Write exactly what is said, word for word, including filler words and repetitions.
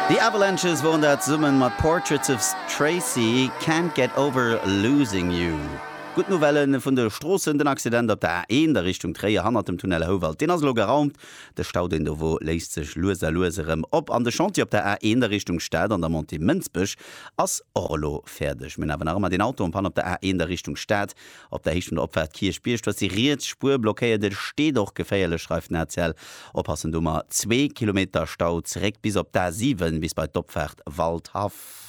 The Avalanches woren dat zesumme mat Portraits of Tracy, Can't Get Over Losing You. Gutt Nouvellen vun de Stroossen: Den Accident op der A eent a Richtung Tréier hannert dem Tunnel Houwald, deen ass elo geraumt. De Stau, deen do wor, léist sech lues a lues erëm op. An de Chantier op der A eent a Richtung Stad an der Montée Mënsbech ass och elo fäerdeg. Mir hunn awer nach ëmmer deen Auto en panne op der A eent a Richtung Stad op der Héicht vun der Opfaart Kierchbierg. Do ass déi riets Spuer blockéiert, et steet och geféierlech, schreift den A C L. Oppassen do, mar zwee Kilometer Stau zeréck bis op d'A siwen, bis bei d'Opfaart Waldhaff.